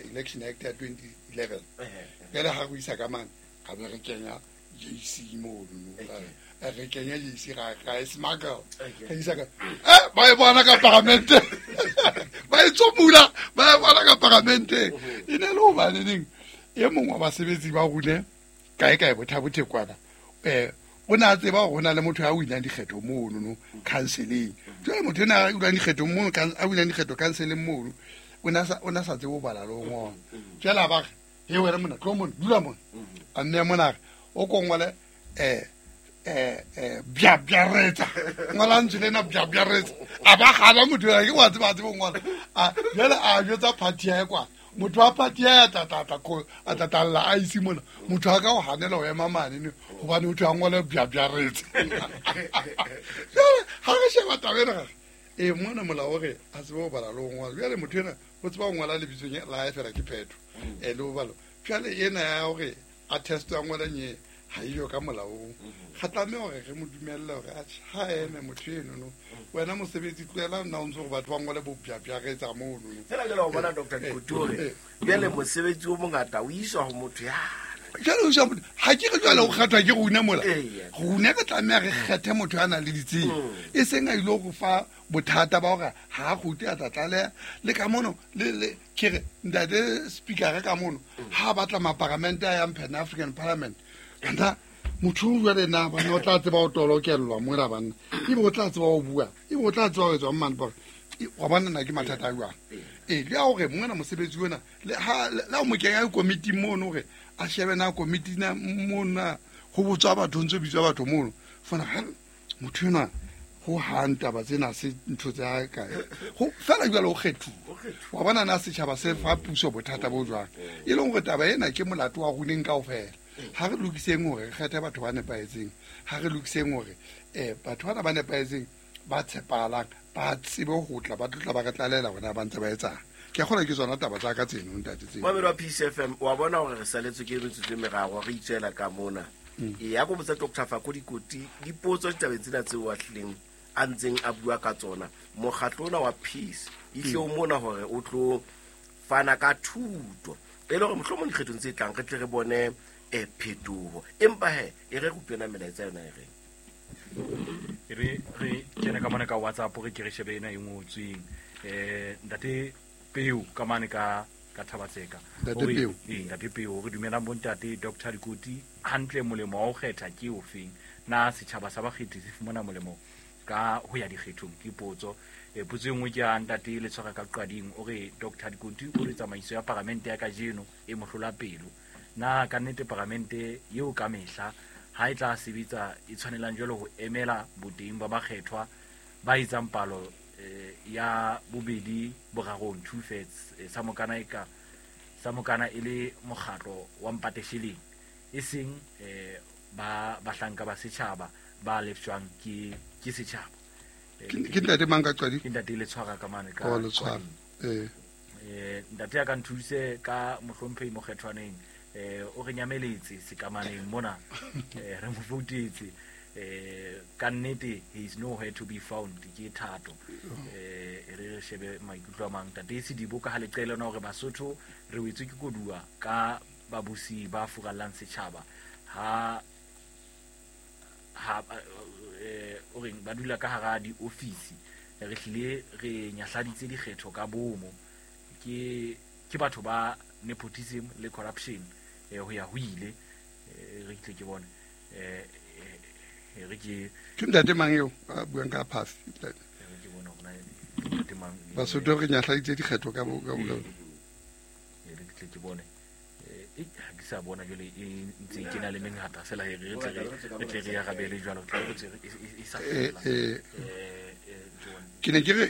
Election Act ya twenty eleven. Jwale ha re isa ka mane ga be re kenya J C mono re kenya J C ga ga e smuggle re isa ka eh ba e bona ka paramente ba e tsomula ba e bona ka paramente e ne le hobane neng e mongwe wa basebetsi ba rune kae kae bothabothe kwana eh o na tseba hore ho na le motho ya winang dikgetho mono no counseling. Jwale motho ena a winang dikgetho mono a winang dikgetho counseling mono o na sa o na sa tsebe ho bala le ho ngola. Jwale a ba re he wena mona tlo mona dula mona a nne mona o ko ngole eh eh eh bya byaretsa ngola ntse lena bya byaretsa a ba gana motho ya ke wa tseba tsebe ngola a jwale a jwetsa party ya kwa motho wa party ya tatata ko a tatalla a isi mona motho a ka o hanela ho ema mane ne hobane o thwe a ngole bya byaretsa. Jwale ha re sheba taba ena e mona molao hore a tsebe ho bala le ho ngola. Jwale motho ena o tseba ho ngola lebitsong la hae fela ke phetho e le ho bala. Jwale ena ya hore a testwa ngwana nye ha iyo ka molaong ga tlameha hore re mo dumelle hore a ha eme motho eno no wena mosebetsi tlohela nna o ntse gore batho ba ngole bopjapja re etsa mono no fela jalo o bona Doctor Dikoti hore jwale mosebetsi o mongata o iswa ho motho ya jalo o iswa ha ke re jwale o kgathwa ke rona mola rona re tlameha re kgethe motho a nang le ditsebo e seng a ile go fa bothata ba hore ha a kgute a tla tlaleha le ka mono le le ke re ntate speaker ka mono ha batla maparamente a yang Pan African Parliament kanta motho o jwale na bana o tla tseba ho tolokellwa mola banna ebe o tla tseba ho bua ebe o tla tseba ho etswa mmane bore wa bona na ke mathata a jwang ee le a hore mongana mosebetsi ona le ha la o mo kenya komiti mono hore a shebe na komiti na mona ho botswa batho ntse bitswa batho mono fana ha motho ena ho hang taba tsena se ntho tsa kae ho fela jwale ho kgethuwa wa bona na setjhaba se fa puso bothata bo jwang e leng hore taba ena ke molato wa runeng kaofela ha re lokiseng hore re kgethe batho ba nepahetseng ha re lokiseng hore eh batho bana ba nepahetseng ba tshepahalang ba tsebe ho tla ba tlotla ba re tlalela hore na ba ntse ba etsang ke a kgona ke tsona taba tsa ka tseno ntate tseno Mamedi wa P C F M wa bona hore re saletswe ke metsotso e meraro re itswela ka mona e ya go botsa Doctor Fako Dikoti dipotso ditabeng tsena tseo a tlileng a ntseng a bua ka tsona mokgatlo ona wa Peace ihle o mona hore o tlo fana ka thuto e le hore mohlomong dikgethong tse tlang re tle re bone e phetoho empa he e re rupena melaetsa yona e reng e re re kene ka mane ka WhatsApp re ke re shebe ena e ngotsweng eh ntate Peo ka mane ka ka Thabatseka ntate Peo eh ntate Peo re dumelang bo ntate Doctor Dikoti hantle molemo wa ho kgetha ke ofeng na setjhaba sa bakgethi se fumana molemo ka ho ya dikgethong ke potso e potso e nngwe ke ya ntate le tshwara ka qading o re Doctor Dikoti o re tsamaiso ya paramente ya kajeno e mohlola pelo na ka nnete paramente eo ka mehla ha e tla sebetsa e tshwanelang jwalo ho emela boteng ba bakgethwa ba etsang palo ya bobedi borarong two thirds sa mokana e ka sa mokana e le mokgatlo wa mpatesheleng e seng ba bahlanka ba setjhaba ba lefshwang ke ke setjhaba ke ntate mang ka qadi ke ntate le tshwara ka mane ka o le tshwara eh eh ntate ya ka nthuse ka mohlomphehi mokgethwaneng eh o re nyameletse sekamaneng mona eh re mo voutetse eh ka nnete he is nowhere to be found ke thato eh re re shebe maikutlo a mang ntate Sedibo ka ha leqele na hore Basotho re wetswe ke koduwa ka babusi ba furallang setjhaba ha ha eh o reng ba dula ka hara di office re hlile re nyahladitse dikgetho ka bomo ke ke batho ba nepotism le corruption eh ho ya ho ile re tle ke bone eh re ke ke ntate mang eo a buang ka pass re ke bone hore na ntate mang Basotho re nyahladitse dikgetho ka bo ka bo re tle ke bone eh ha ke sa bona jwale e ntse ke na le mengata fela re tle re tle re ya rabele jwalo tle re e sa fela eh ke ne ke re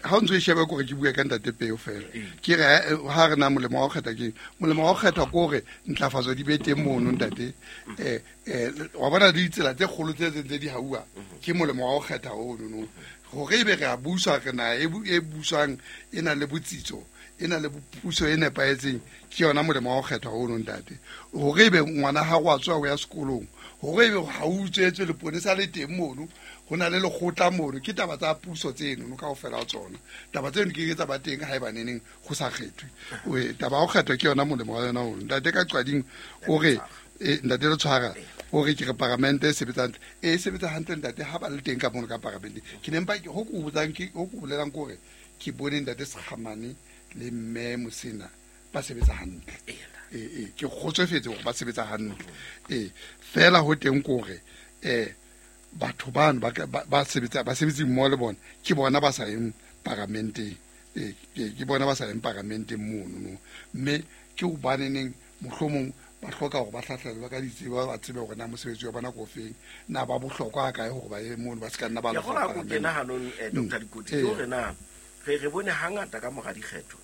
ha o ntse o sheba kore ke bua ka ntate Peo fela ke re ha re na molemo wa ho kgetha ke molemo wa ho kgetha ke hore ntlafatso di be teng mono ntate eh eh wa bona ditsela tse kgolo tse tse di hauwa ke molemo wa ho kgetha ono no hore ebe re a buswa re na e buswang e na le botsitso e na le puso e nepahetseng ke yona molemo wa ho kgetha ono ntate hore ebe ngwana ha go a tswa ho ya sekolong hore ebe ha o utswetswe leponesa le teng mono ho na le lekgotla mono ke taba tsa puso tseno no kaofela ha tsona taba tseno ke ke tsa ba teng ha e ba neneng go sa kgethwe taba ya ho kgethwa ke yona molemo wa yona ono ntate ka qading o re ntate le tshwara o re ke re paramente e sebetsa hantle e sebetsa hantle ntate ha ba le teng ka mono ka paramente ke ne mpa ho ko botsang ke ho ko bolelang ke hore ke bone ntate Sekgamane le mme Mosena ba sebetsa hantle eh eh ke kgotsofetse hore ba sebetsa hantle eh fela ho teng ke hore eh batho bano ba ba sebetsa ba sebetsi mmoho le bona ke bona ba sa yeng paramenteng eh ke bona ba sa yeng paramenteng mono no mme ke hobaneneng mohlomong ba hloka hore ba hlahlelwe ka ditsebo ba tsebe hore na mosebetsi wa bona ko feng na ba bohlokwa ha kae hore ba ye mono ba se ka nna ba la go kena hanong Doctor Dikoti ke hore na re re bone hangata ka mora dikgetho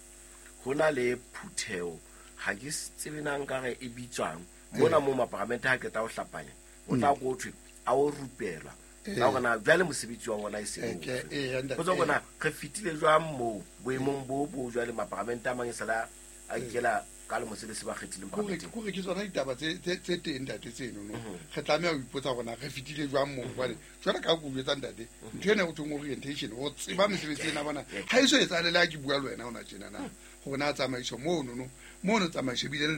ho na le phutheo ha ke tsebe na nka re e bitswang mona mo maparamente ha qeta ho hlapanya o tla go thwe a o rupelwa ka hore na jwale mosebetsi wa bona e se o go tswa re fitile jwang mo boemong bo bo jwale maparamente a mang e sala a ikela Ka lemo se le se ba kgethileng Kore parlamenteng. Kore ke tsona ditaba tse tse tse teng ntate tseno no. Re tlameha ho ipotsa hore na re fetile jwang moo hobane jwale ka ho jwetsa ntate ntho ena ho thweng orientation ho tseba mesebetsi ena bona ha e so etsahale le ha ke bua le wena hona tjena na hore na tsamaiso mono no mono tsamaiso ebile le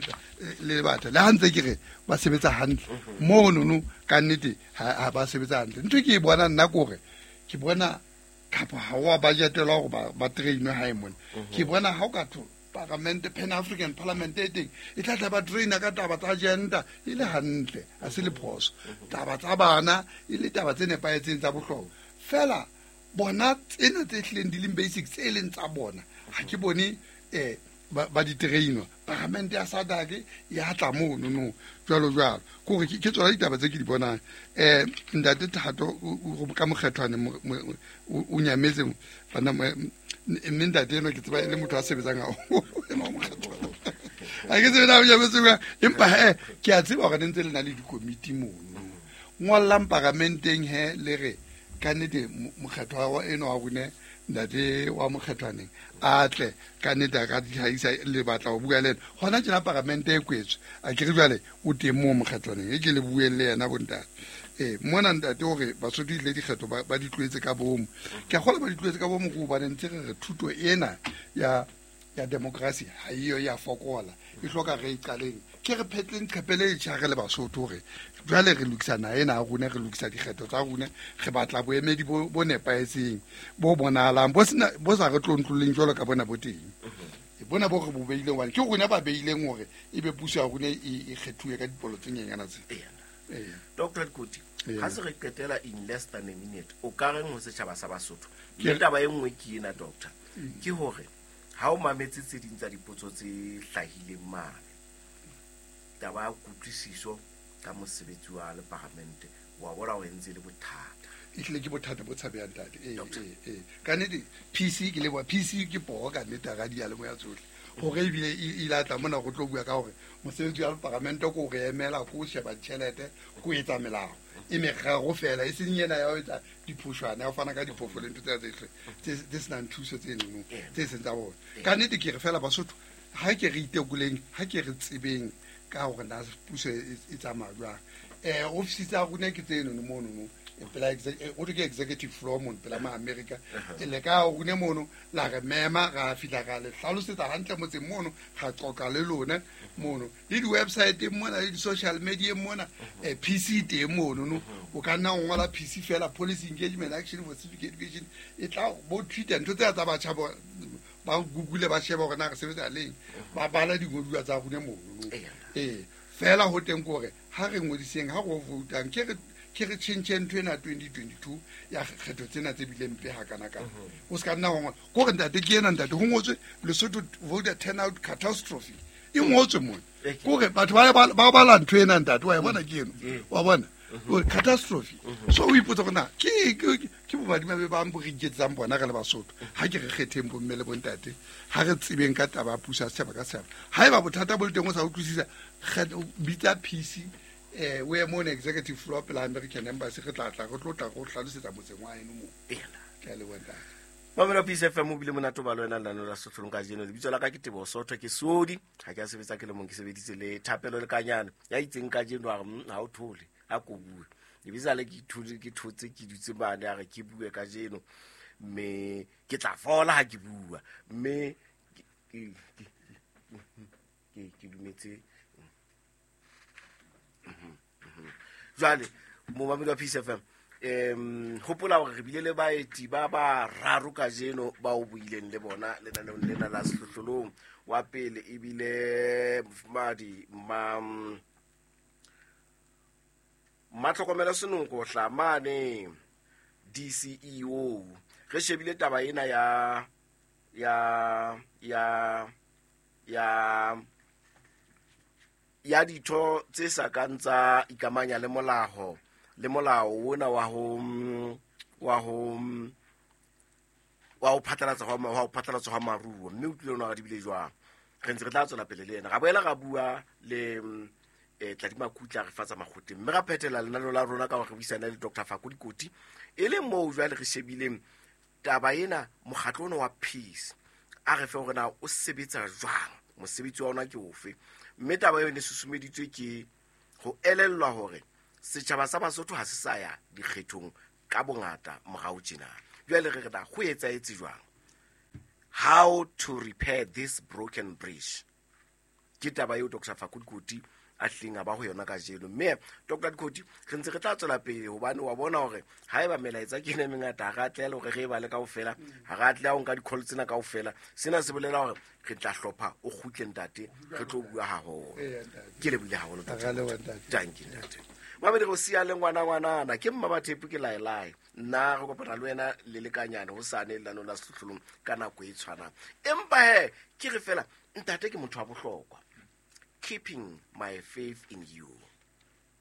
le batho le ha ntse ke re ba sebetsa hantle mono no ka nnete ha ba sebetsa hantle. Ntho ke e bona nna kore ke bona kapa ha wa budgetelwa hore ba ba trainwe hae mona. Ke bona ha o ka tho Parliament, Pan African Parliament e teng e tla tla ba traina ka taba tsa agenda e le hantle a se le phoso taba tsa bana e le taba tse nepahetseng tsa bohlokwa fela bona tsena tse hlileng di leng basic tse leng tsa bona ha ke bone eh ba ba di trainwa. Parliament ya SADC ya tla mono no jwalo jwalo kore ke tsona ditaba tse ke di bonang. Eh ntate Thato ka mokgethwane o nyametse bana mme ntate eno ke tseba e le motho a sebetsang haholo ena mokgethwane ha ke tsebe na o nyametse jwang empa he ke a tseba hore ne ntse le na le dikomiti mono ngollang paramenteng he le re ka nnete mokgethwa wa eno wa rone ntate wa mokgethwaneng a tle ka nnete a ka ditlhahisa le batla ho bua le ena hona tjena paramente e kwetswe a ke re jwale o teng moo mokgethwaneng e ke le bueng le yena bontate. Eh mona ntate hore Basotho ile dikgetho ba di tloetse ka bomo ke a kgola ba di tloetse ka bomo go hobane ntse re re thuto ena ya ya democracy ha iyo ya fokola e hloka re iqaleng ke re phetleng qhepele e tjha re le Basotho hore jwale re lokisa naha ena ya rona re lokisa dikgetho tsa rona re batla boemedi bo bo nepahetseng bo bonahalang bo sena bo sa re tlontloleng jwalo ka bona bo teng e bona bo re bo beileng hobane ke rona ba beileng hore ebe puso ya rona e kgethuwe ka dipolo tse nyenyana tse. Doctor Koti ha se re qetela in less than a minute o ka reng ho setjhaba sa Basotho le taba e nngwe ke ena doctor ke hore ha o mametse tse ding tsa dipotso tse hlahileng mane taba ya kutlwisiso ka mosebetsi wa le parliament wa bona o entse le bothata e hlile ke bothata bo tshabehang ntate. Eh eh eh ka nnete P C ke leboha P C ke poho ka nnete ra diyalemoya tsohle hore ebile e ile a tla mona go tlo bua ka hore mosebetsi wa parliament ko re emela ko sheba tjhelete ko etsa melao e meraro fela e seng yena ya ho etsa diphoshwana ya ho fana ka diphofo le ntho tse tse tse senang thuso tse nno tse seng tsa bona. Ka nnete ke re fela Basotho ha ke re itekoleng ha ke re tsebeng ka hore na puso e tsamaya jwang. Eh office tsa rona ke tseno no mono no pela o ke executive floor mono pela ma America e le ka rona mono la re mema ra fihla ra le hlalosetsa hantle motseng mono ra qoqa le lona mono le di website mona le di social media mona eh P C teng mono no o ka nna o ngola P C fela policy engagement action for civic education e tla bo Twitter ntho tse tsa batjha ba ba Google ba sheba hore na re sebetsa leng ba bala dingodua tsa rona mono no eh fela ho teng kore ha re ngodiseng ha go voutang ke re ke re tjhentjhe ntho ena twenty twenty-two ya kgetho tsena tse bileng mpe ha kana kana o ska nna ho ko re ntate ke ena ntate ho ngotswe Lesotho voter turnout catastrophe e ngotswe mona kore batho ba ba bala ntho ena ntate wa e bona ke eno wa bona o catastrophe so o ipotsa hore na ke ke bobadima be bang bo re iketsang bona re le Basotho ha ke re kgetheng bomme le bontate ha re tsebeng ka taba ya puso ya setjhaba ka setjhaba haeba bothata bo le teng o sa utlwisisa bitsa P C eh we mo executive floor pela American Embassy re tla tla re tlo tla go hlalosetsa motseng wa eno mo ke a leboha ntate. Mamela Peace F M o bile monate ba le wena lenaneo la Sehlohlolong kajeno. Lebitso la ka ke Teboho Sotho ke Sodi ha ke a sebetsa ke le mong ke sebeditse le Thapelo le Kanyane ya itseng kajeno a re ha o thole a ko bue lebitsa le ke ithole ke thotse ke dutse mane a re ke bue kajeno mme ke tla fola ha ke bua mme ke ke ke dumetse. Jwale momamedi wa Peace F M em hopola hore re bile le baeti ba bararo kajeno ba o buileng le bona lenaneong lena la Sehlohlolong. Wa pele ebile mofumahadi ma Matlhokomelo Senoko Hlamane D C E O re shebile taba ena ya ya ya ya ya ditho tse sa kang tsa ikamanya le molao le molao ona wa ho wa ho wa ho phatlalatsa wa ho phatlalatsa ha maruo mme o tlile ona re dibile jwang re ntse re tla tswela pele le ena ra boela ra bua le eh Tladi Makutla re fatsa makgoteng mme ra phethela lenaneo la rona ka hore re buisana le Doctor Fako Dikoti e le moo jwale re shebileng taba ena mokgatlo ona wa peace a re fe hore na o sebetsa jwang. Mosebetsi wa ona ke ofe? Mme taba eo e ne susumeditswe ke ho elellwa hore setjhaba sa Basotho ha se sa ya dikgethong ka bongata morao tjena. Jwale re re na ho etsahetse jwang? How to repair this broken bridge? Ke taba eo Doctor Faku Dikoti a hlileng a ba ho yona kajeno. Mme Doctor Dikoti re ntse re tla tswela pele hobane wa bona hore haeba melaetsa ke ena e mengata ha re atleha le hore re e bale kaofela, ha re atleha ho nka di-call tsena kaofela. Sena se bolela hore re tla hlopha o kgutle ntate, re tlo bua haholo. Ke lebohile haholo ntate. Thank you ntate. Mamedi go siya le ngwana ngwanana ke mma Bathepu ke laelae. Nna re kopana le wena le lekanyane hosane lenaneo la Sehlohlolong ka nako e tshwanang. Empa he ke re fela ntate ke motho wa bohlokwa. Keeping my faith in you.